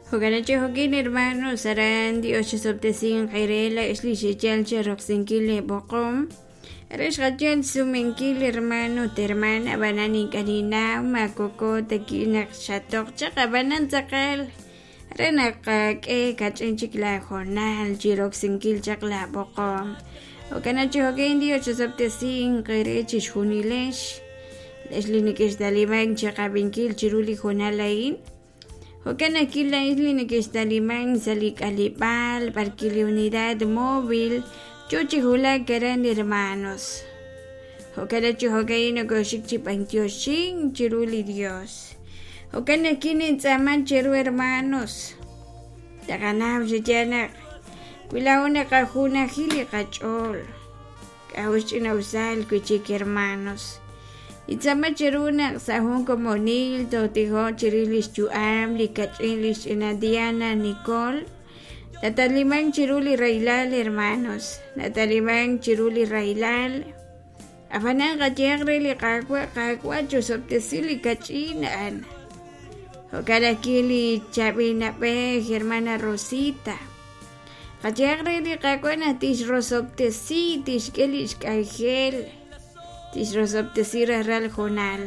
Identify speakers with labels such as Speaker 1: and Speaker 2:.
Speaker 1: Jo'kan chi jo'kin hermanos aran Dios chisob'tesinq eere laa'ex li xeyal cheroksinkil leeb'oqom re xqayal xsumenkil hermano ut hermana ab'anan ink'a' ninnaw ma koko ta ki' naq xatoq chaq ab'anan tz'aqal re naq qak'e kach'in chik laahoonal chi roksinkil chaq laab'oqom. Jo'kan chi jo'kin Dios chisob'tesinq eere chixjunilex lex li nekextalimank chiqab'inkil chiru li hoonal a'in. Jo'kan naq laa'in li nekextalimank sa' li k'aleb'aal b'arwi' li unidad móvil yo chi wulak aran hermanos. Jo'kan naq chi jo'ka'in nokoxik chi b'antioxink chiru li Dios. Jo'kan naq kinintz'aaman cheru hermanos. Taqanaw chi yaal naq wi laa'o naqajunaji li qach'ool k'a'jo xch'ina'usal wi'chik hermanos. Nintz'aama cheru naq sa' jun komonil tootijoq chirix lix yu'am li kach'in li xch'ina Diana Nicole. Natalimank chiru li rahilal hermanos, natalimank chiru li rahilal. Ab'anan qayehaq re li Qaawa', Qaawa' chusob'tesi li kach'in a'an. Jo'kan ajwi' li chaab'il na'b'ej hermana Rosita. Qayehaq re li Qaawa' naq tixrosob'tesi, tixk'e li xk'anjel, tixrosob'tesi rajlal hoonal.